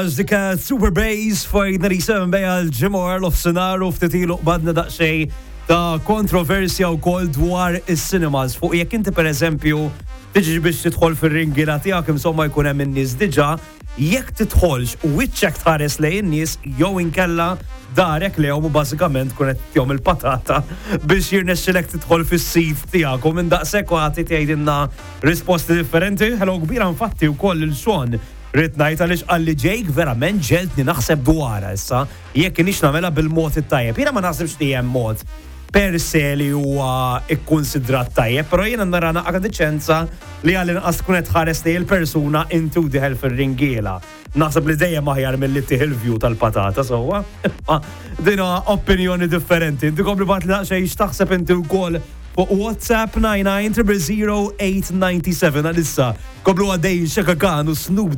Dik Super Bass 597 bejja l-ġimgħa l-ofsinhar u ftit ilu qbadna daqsxejn ta' kontroversja wkoll dwar is-cinemas fuq jekk inti, pereżempju, tiġi biex tidħol fir-ringiela tiegħek, insomma, jkun hemm in-nies diġà, jekk tidħolx u wiċċek tħares lejn in-nies jew inkella darek lejhom u bażikament tkun qed tihom il-patata biex jirnexxilek tidħol fis-seat tiegħek, u minn daqshekk u ħadd jgħidilna risposti differenti. Hello kbira infatti wkoll lil Sean, rrid ngħid, għaliex qalli, "Jake, verament ġegħeltni naħseb dwarha issa jekk inix nagħmilha bil-mod it-tajjeb." Jiena ma naħsibx li hemm mod per se li huwa ikkonsidrat tajjeb, però jiena nara naqra diċenza li għall-inqas tkun qed tħares li il-persuna inti u dieħel fir-ringiela. Naħseb li dejjem aħjar milli tih il-view tal-patata, sewwa. Dina opinjoni differenti. Inti kompli ibgħatli daqsxejn x'taħseb inti wkoll fuq WhatsApp 99 000 897. Għalissa komplu għaddej Chaka Khan u Snoop.